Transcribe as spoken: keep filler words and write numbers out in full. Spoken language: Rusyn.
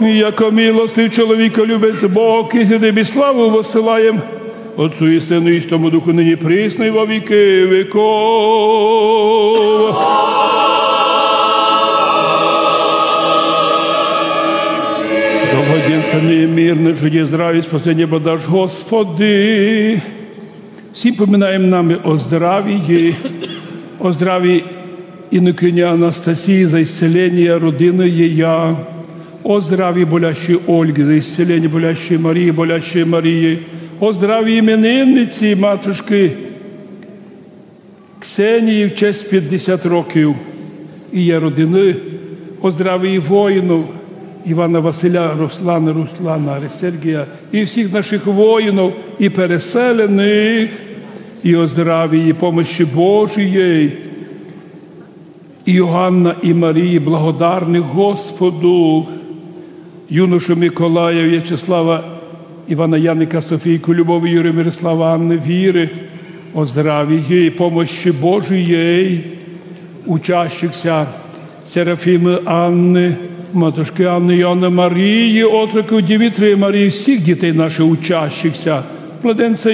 И яко милостив, чоловіколюбець Бог, и Тобі славу воссылаєм, Отцу и Сыну и Святому Духу, нині, присно и во віки віков. Доброденця мирный, життя, здраві, спасеня подаш, Господи. Всім поминаєм нами о здравії, о здравії инокині Анастасії за исцеленя родины єя, о здравії болящої Ольги за исцеленя болящої Марії, болящої Марії, о здравії именинниці, матушкы Ксенії, в честь пятдесят років її родины, о здравії воїнів Івана, Василя, Руслана, Руслана, Сергія и всіх нашых воїнів и переселеных, и о здравії и помощи Божией Иоанна и Марії, благодарных Господу, юношу Миколая, Вячеслава, Ивана, Яника, Софийку, Любовь, Юрия, Мирослава, Анны, Віры, о здравії и помощи Божией, учащихся Серафимы Анны, матушкы Анны, Иоанна, Марії, отроків Димитрия, Марії, всіх дітей наших учащихся, младенця